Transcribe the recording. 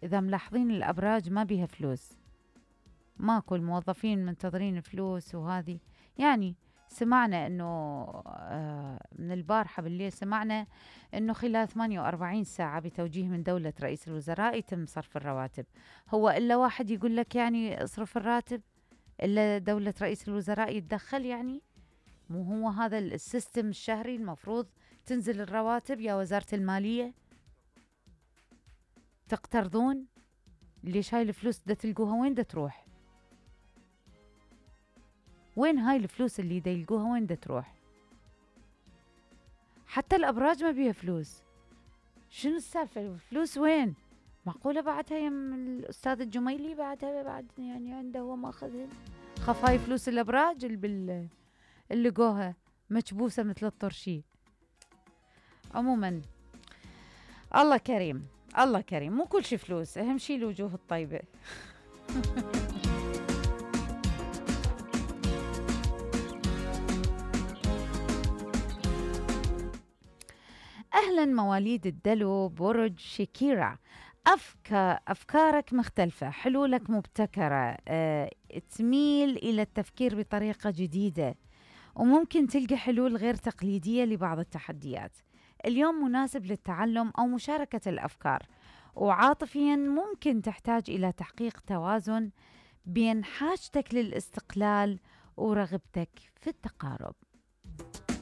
إذا ملاحظين الأبراج ما بيها فلوس، ماكو الموظفين منتظرين فلوس وهذه. يعني سمعنا أنه من البارحة بالليل سمعنا أنه خلال 48 ساعة بتوجيه من دولة رئيس الوزراء يتم صرف الرواتب. هو إلا واحد يقول لك يعني اصرف الراتب؟ إلا دولة رئيس الوزراء يتدخل؟ يعني مو هو هذا السيستم الشهري المفروض تنزل الرواتب يا وزارة المالية؟ تقترضون؟ ليش هاي الفلوس دا تلقوها وين دا تروح؟ وين هاي الفلوس اللي دا يلقوها وين دا تروح؟ حتى الأبراج ما بيها فلوس. شنو السالفة؟ الفلوس وين؟ معقولة بعدها يم الأستاذ الجميلي بعدها بعد يعني عنده هو ماخذهن؟ خف هاي فلوس الأبراج اللي لقوها مكبوسة مثل الطرشي. عموما الله كريم، الله كريم، مو كل شي فلوس، أهم شي الوجوه الطيبة. أهلا مواليد الدلو برج شكيرة، أفكارك مختلفة، حلولك مبتكرة، تميل إلى التفكير بطريقة جديدة، وممكن تلقى حلول غير تقليدية لبعض التحديات. اليوم مناسب للتعلم أو مشاركة الأفكار، وعاطفيا ممكن تحتاج إلى تحقيق توازن بين حاجتك للاستقلال ورغبتك في التقارب.